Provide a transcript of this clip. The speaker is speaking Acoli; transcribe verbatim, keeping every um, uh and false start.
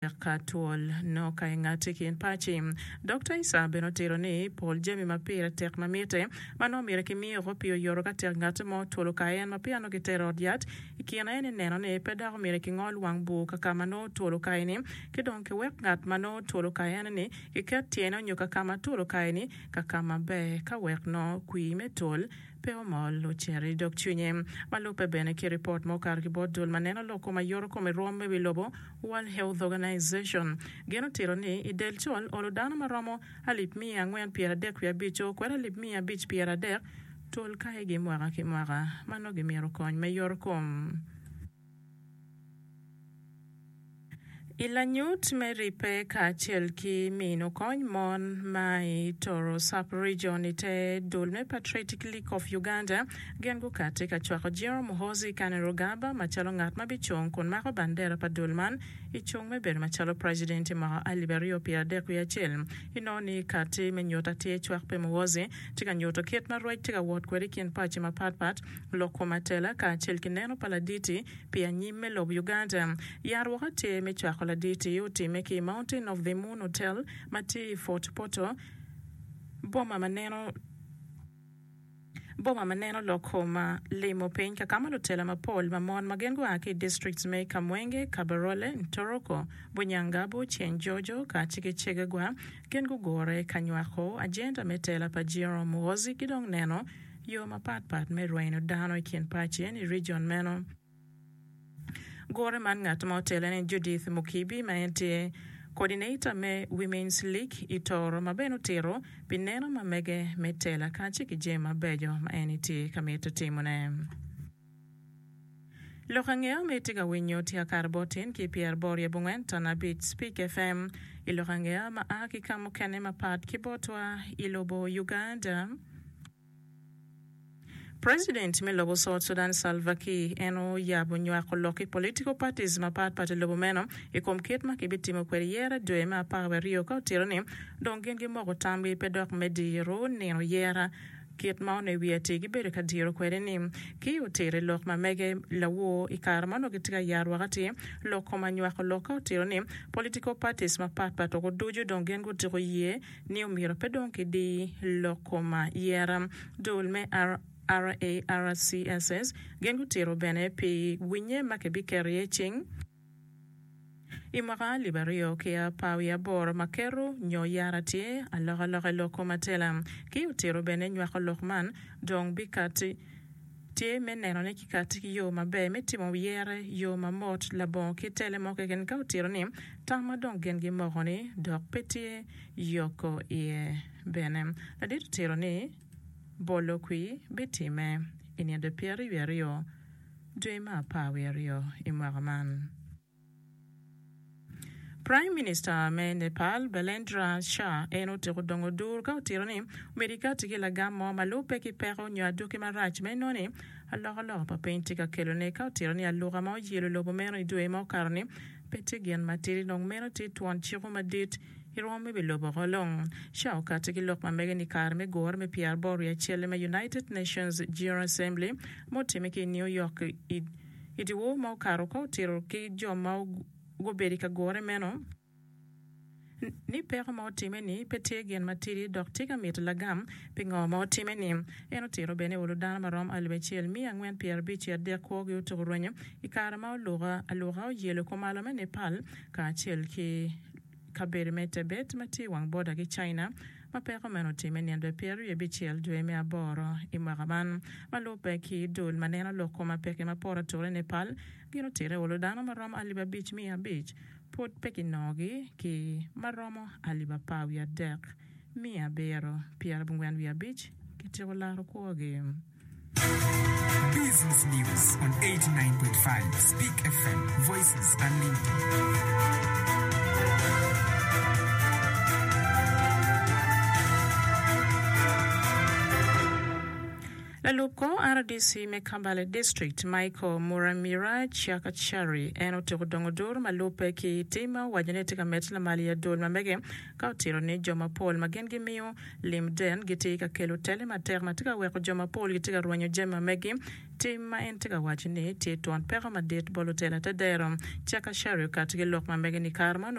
Ka twol nongo ka ingati ki in paci. Dokta Issa bene otito ni pol jami ma pire tek ma mitte ma nongo myero ki miyo oko pi oyoto ka tek ngati mo twol okayo en ma peya nongo kitero i ot yat. I kine en ni neno ni pe dok myero ki ngol wang bur ka ka ma nongo twol okayo ni ki dong ki wek ngat ma nongo twol okayo en ni ki ket tyene onyo ka ka ma twol okayo ni ka ka maber ka wek nongo kwir me twol pe omol ocito i dog cwinye. Ma lubbe bene ki ripot ma okato ki bot dul ma neno lok kom ayoto kom i rwom me wi lobo, World Health Organization, gin otito ni i del col olo dano ma romo alip miya angwen pyeradek wiye abic o kwede alip miya abic pyeradek twol kayogi mwaka ki mwaka ma nongo gimito kony me yoto kom. I lanyut me ribbe kacel ki mino kony mon ma i Toro Sub-Region i te dul me Patriotic League of Uganda gin gukati ka cwako General Muhoozi Kainerugaba macalo ngat ma bicung kun mako bandera pa dul man i cung me bedo macalo President i mwaka alip aryo pyera adek wiye acel. Inongo ni kati me nyuto atir cwak pi Muhoozi tye ka nyuto kit ma rwec tye ka wot kwede i kin paci mapat pat, lok kom atela kacel ki neno pa laditi pi anyim me lobo Uganda. Yarwoka tye me cwako laditi otimme ki i Mountain of the Moon Hotel ma tye i Fort Portal, boma ma neno boma ma neno lok kom limo piny ka ka ma lutela mapol ma mon ma gin gua ki i districts me Kamwenge, Kabarole, Ntoroko, Bunyangabu, Kyenjojo kacel ki Kyegegwa gin gugure ka nywako agenda me tela pa General Muhoozi ki dong neno yo mapat pat me rwenyo dano i kin paci en i region meno. Gure man ngat ma otele ni Judith Mukibi ma en tye Coordinator me Women's League i Toro ma bene otito pi neno ma mege me tela kacel ki jami mabeco ma en tye ka mito timone. Lok angeya ma itye ka winyo tye akato bot tin ki pyeraboro i abongwen ton abic Speak F M i lok angeya ma a ki ka mukene mapat ki botwa i lobo Uganda. President me lobo South Sudan Salva Kiir en oyabo nywako lok ki political parties mapat pat i lobo meno i kom kit ma kibitimo kwede yera dwe me apar wiye aryo ka otito ni dong gin gimoko tamgi pe dok me diro nino yera kit ma onongo i wiye atir gibedo ka diro kwede ni ki otiro i lok ma mege lawor i kare ma onongo gitye ka yarwok atir lok kom anywako lok ka otito ni political parties mapat pat oko ducu dong gin gutiko ye ni omyero pe dong kidi lok kom yera dul me R A R C S S gin gutito bene pi winye ma kibiketo iye cing i mwaka alip aryo ki apar wiye aboro ma keto nyo yara tye alokaloka i lok kom atela ki otito bene nywako lok man dong bikati tye me neno ni kikati ki yo maber me timo yere yo mamot labongo ki tele mo keken ka otito ni tam ma dong gin gimoko ni dok pe tye yoko iye bene ladit otito ni bolo kwi bitime i nino pyeraryo wiye aryo dwe me apar wiye aryo i mwaka man. Prime Minister me Nepal Balendra Shah en otyeko dongo dur ka otito ni omyero ikati ki lagam mo ma lubbe ki peko nyo aduki marac ma inongo ni alokaloka pa piny tye ka kelone ka otito ni aluka ma oyelo lobo meno i dwe ma okato ni pe tye gin matidi dong meno tye twon ciko madit i rwom me wi lobo oko long. Shah okati ki lok ma mege ni kare me gure me pyeraboro wiye acel me United Nations General Assembly ma otimme ki i New York i dyewor ma okato ka otito ki jo ma gubedo i ka gure meno ni peko ma otimme ni pe tye gin matidi dok tye ka mito lagam pi ngo ma otimme ni. En otito bene olo dano marom alip acel miya angwen pyerabic ki adek kwogi otuko rwenyo i kare ma oluka aluka oyelo kumalo me Nepal kacel ki kabedo me Tibet ma tye i wang boda ki China ma peko meno otimme nino pyeraryo abicel dwe me aboro i mwaka man ma lubbe ki dul ma neno lok kom apeke ma poto atura i Nepal gin otito olo dano maromo alip abic miya abic pud pe kinongogi ki maromo alip apar wiye adek miya abiro pyerabongwen wiye abic kityeko laro kwogi. Business News on eighty-nine point five Speak F M, Voices Unlimited. Lalub kor R D C me Kambale District, Michael Muramira Chakachari, en otyeko dongo duru ma lubbe ki tim ma owaco ni tye ka medde lamal i adwol ma mege, ka otito ni jo mapol ma gin gimiyo lim den gitye ka kelo tele matek ma tye ka weko jo mapol gitye ka rwenyo jami ma megi, tim ma en tye ka waco ni tye twon peko madit bot lutela te dero. Chakachari okati ki lok ma mege ni kare ma